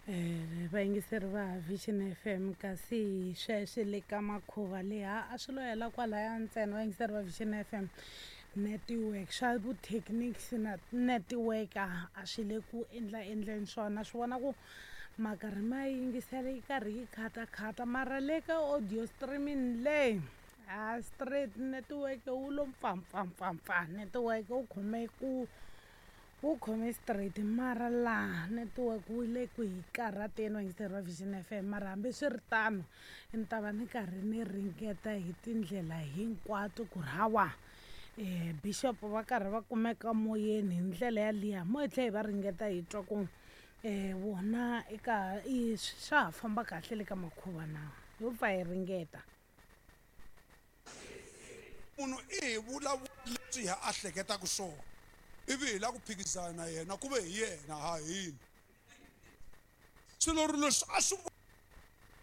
Vayingiseri va Vision FM kasi sweswi le ka makhuva leha a swi lo hela kwalaya ntsena vayingiseri va Vision FM network swa vuthekiniki na network a swi le ku endla endleni swona swi vona ku ma karhi ma yingisela yi karhi yi khatakhata mara le ka audio streaming le a straight network wu lo mpfampfampfampfa network wu khome ku wu khome straight mara laha network wu le ku hi karhateni vayingiseri va Vision FM mara hambiswiritano ni ta va ni karhi ni ringeta hi tindlela hinkwato ku ri hawa bishop va karhi va kumeka moyeni hi ndlela yaliya mo hi tlhela hi va ringeta hi twa ku vona eka i swa ha famba kahle le ka makhuva na ho pfa hi ringeta. Munhu i hi vulavula leswi hi a hleketaka swona ivi hi lava ku phikizana na yena ku ve hi yena ha hina. Swilo ri leswi a swi.